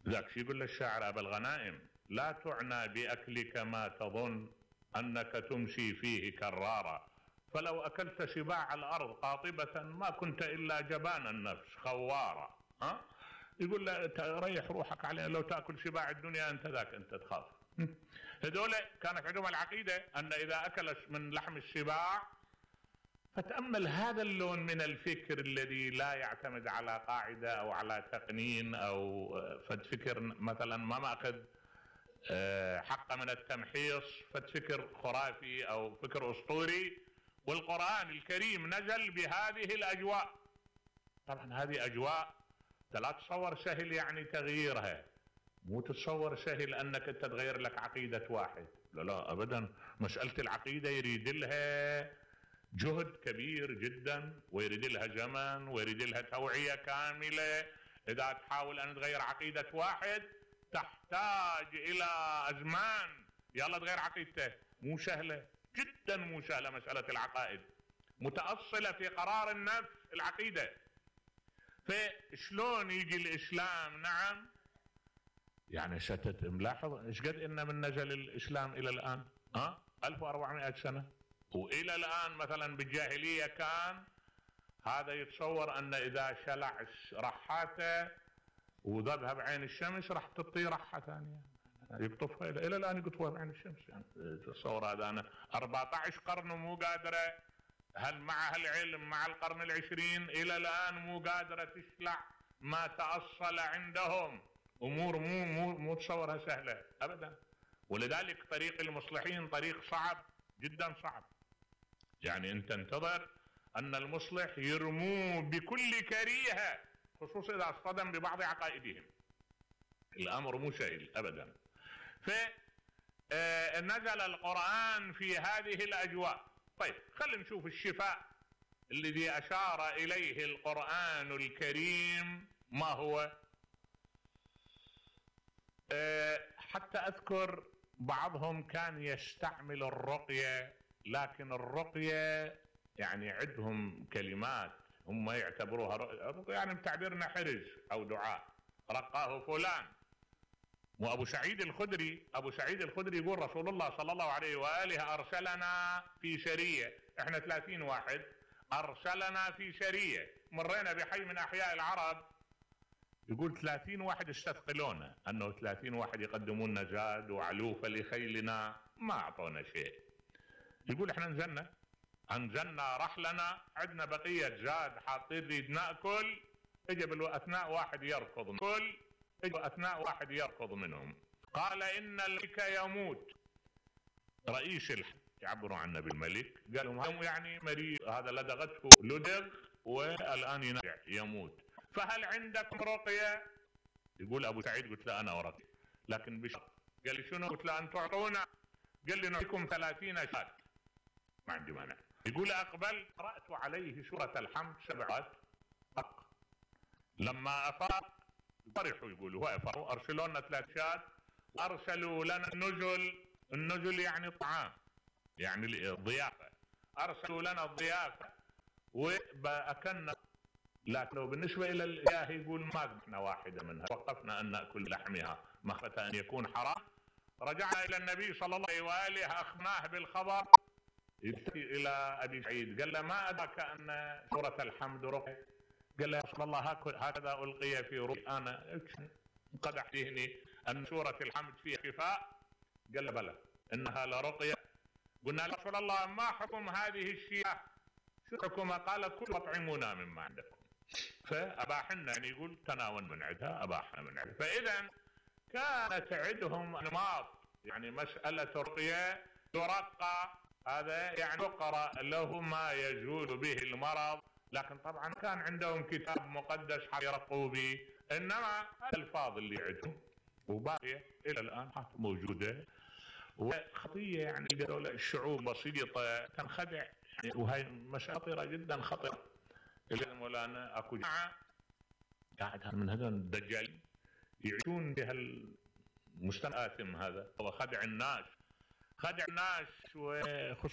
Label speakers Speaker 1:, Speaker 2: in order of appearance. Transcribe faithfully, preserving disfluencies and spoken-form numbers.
Speaker 1: ذاك شي يقول للشاعر أبا الغنائم: لا تعنى بأكلك ما تظن أنك تمشي فيه كرارا، فلو أكلت شباع الأرض قاطبة ما كنت إلا جبان النفس خوارا. ها؟ يقول له ريح روحك عليه، لو تأكل شباع الدنيا أنت ذاك أنت تخاف. هذول كانت عندهم العقيدة أن إذا أكل من لحم الشباع. فتأمل هذا اللون من الفكر الذي لا يعتمد على قاعدة أو على تقنين أو فكر مثلا ما مأخذ حق من التمحيص، فكر خرافي أو فكر أسطوري، والقرآن الكريم نزل بهذه الأجواء. طبعا هذه أجواء لا تتصور سهل يعني تغييرها، مو تتصور سهل أنك تتغير لك عقيدة واحد، لا لا أبدا. مسألة العقيدة يريد لها جهد كبير جدا، ويريد لها زمن، ويريد لها توعية كاملة. إذا تحاول أن تغير عقيدة واحد تحتاج إلى أزمان، يلا تغير عقيدته، مو سهلة جدا، مو سهلة. مسألة العقائد متأصلة في قرار النفس العقيدة. فشلون يجي الإسلام؟ نعم يعني ستت ملاحظ ايش قد إن من نزل الإسلام إلى الآن؟ ها ألف وأربعمائة سنة، وإلى الآن مثلا بالجاهلية كان هذا يتصور أن إذا شلع رحاته وذبها بعين الشمس راح تطي رحة ثانية يقطفها، إلى الآن يقطفها بعين الشمس. يعني تصور هذا أنا أربعة عشر قرن ومو قادرة، هل مع هالعلم مع القرن العشرين إلى الآن مو قادرة تشلع ما تأصل عندهم. أمور مو مو مو تصورها سهلة أبدا. ولذلك طريق المصلحين طريق صعب جدا صعب. يعني أنت تنتظر أن المصلح يرموه بكل كريهة، خصوصا إذا اصطدم ببعض عقائدهم. الأمر مو سهل أبدا. فنزل القرآن في هذه الأجواء. طيب خلينا نشوف الشفاء الذي أشار إليه القرآن الكريم ما هو. حتى أذكر بعضهم كان يستعمل الرقية، لكن الرقية يعني عندهم كلمات هم يعتبروها رقية، يعني بتعبيرنا حرز أو دعاء، رقاه فلان. وأبو سعيد الخدري أبو سعيد الخدري يقول رسول الله صلى الله عليه وآله أرسلنا في سرية، إحنا ثلاثين واحد، أرسلنا في سرية، مرينا بحي من أحياء العرب، يقول ثلاثين واحد استثقلونا، أنه ثلاثين واحد يقدمون لنا زاد وعلوفة لخيلنا، ما أعطونا شيء. يقول إحنا نزلنا أنزلنا رحلنا، عندنا بقية زاد حاطين ريد نأكل، اجى بالأثناء واحد يركض كل اجى أثناء واحد يركض منهم، قال إن الملك يموت. رئيس الحج يعبروا عنه بالملك، قالوا يعني مريض هذا لدغته لدغ والآن ينرجع يموت، فهل عندكم رقية؟ يقول أبو سعيد قلت له أنا ورقية لكن بشرط. قال لي شنو؟ قلت له أن تعطونا. قال لي نعطيكم ثلاثين شاة، ما عندي مانع. يقول أقبل قرأت عليه سورة الحمد سبعات أق. لما أفاق فرحوا، يقولوا أفاقوا، أرسلوا لنا ثلاث شات، أرسلوا لنا النزل. النزل يعني طعام، يعني الضيافة، أرسلوا لنا الضيافة وأكلنا. لكن بالنسبة إلى الإله يقول ما قمنا واحدة منها، وقفنا أن نأكل لحمها مخافة أن يكون حرام. رجعنا إلى النبي صلى الله عليه وآله أخبرناه بالخبر. يبتدي إلى أبي سعيد قال له ما أدرك أن سورة الحمد رقية؟ قال له يا رسول الله هكذا ألقي في رؤيا أنا انقدح ذهني أن سورة الحمد فيها شفاء. قال له بلى إنها لرقية. قلنا يا رسول الله ما حكم هذه الشياه؟ شو حكمها؟ قال كل أطعمونا مما عندكم. فأباح لنا، يعني يقول تناول من عندها، أباحنا من عندها. فإذا كانت عندهم أنماط، يعني مسألة الرقية ترقى، هذا يعني يقرأ له ما يزول به المرض، لكن طبعا كان عندهم كتاب مقدس يرقوا به. إنما الألفاظ اللي عندهم وباقية إلى الآن موجودة، وخطية يعني الشعوب بسيطة تنخدع، يعني وهي مسألة خطيرة جدا خطيرة. إلى مولانا أكو جماعة قاعد من هذول الدجالين يعيشون بهالمجتمع آثم هذا، هو خدع الناس، خدع الناس وخصوصا